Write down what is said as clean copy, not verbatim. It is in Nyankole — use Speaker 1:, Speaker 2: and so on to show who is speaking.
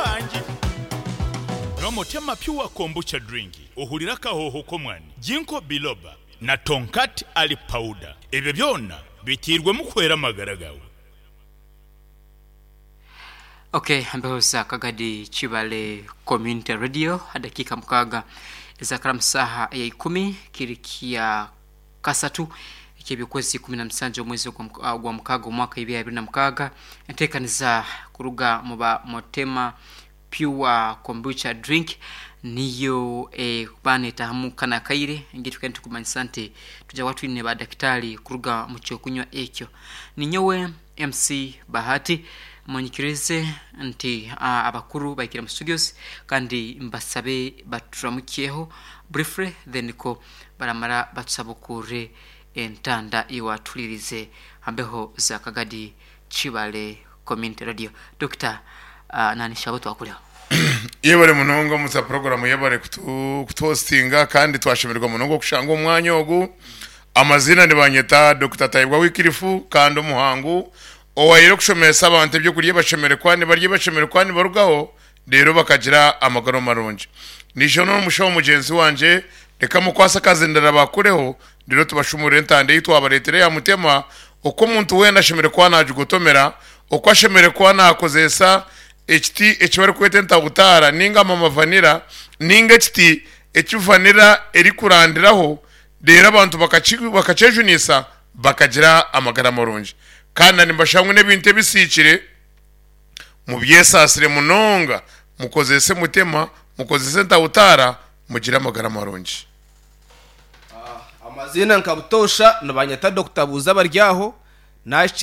Speaker 1: Muhangi.
Speaker 2: Nywa Motema Pure Kombucha Drink ohurire akahooho k'omwani, Ginkgo Biloba na Tongkat Ali Powder. Ebyo byona biteirwemu kuhwera amagara gaawe.
Speaker 3: Ok embeho za Kagadi Kibale Community Radio dakiika mukaaga ezakara mu saaha eya ikumi kiri kya kasatu eky'ebyokwezi 17 omwezi ogwa mukaaga omwaka 2026 enteekaniza kuruga mu ba Motema Pure Kombucha Drink niyo ekuba netahamu kanu akaire engeri tukaba nitukumanyisa nti twija kuba twine ba dakitaali kuruga mu kyokunywa ekyo. Ninyowe MC Bahati munyikirize nti abakuru bahikire mu studios kandi mbasabe baturamukyeho briefly then ko baramara batusabukurre entanda iwe atuhuririze hambeho za Kagadi Kibale Community Radio. Dokita Nanishabo twakureho.
Speaker 4: Yebare munonga Musa program yebare kutuhostinga kandi twashemererwa munonga okushanga omwanya ogu. Amaziina nibanyeta Dokita Tayebwa Wycliffe kandi omuhangu owaire okushomesa abantu ebyokurya ebashemereire kuba nibarya ebashemereire kuba nibarugaho reero bakagira amagara marungi. Naija n'omushaho mugyenzi wangye reka mukwase akazindaro abakureho reero tubashumurire entanda ei twabareetera eya Mutema oku omuntu weena ashemereire kuba nagigotomera, oku ashemereire kuba nakozesa ekiti eki barikweta entabutaara ninga mama vanilla ninga ekiti eki vanilla erikurandiraho reero abantu bakakyejunisa bakagira amagara marungi. Kandi na nimbashaba ngu n'ebintu ebisiikire mubyesaasire munonga, mukozese mutema, mukozese entabutaara mugire amagara marungi.
Speaker 5: Amaziina nka butoosha nibanyeta Dokita Buuza Baryaho.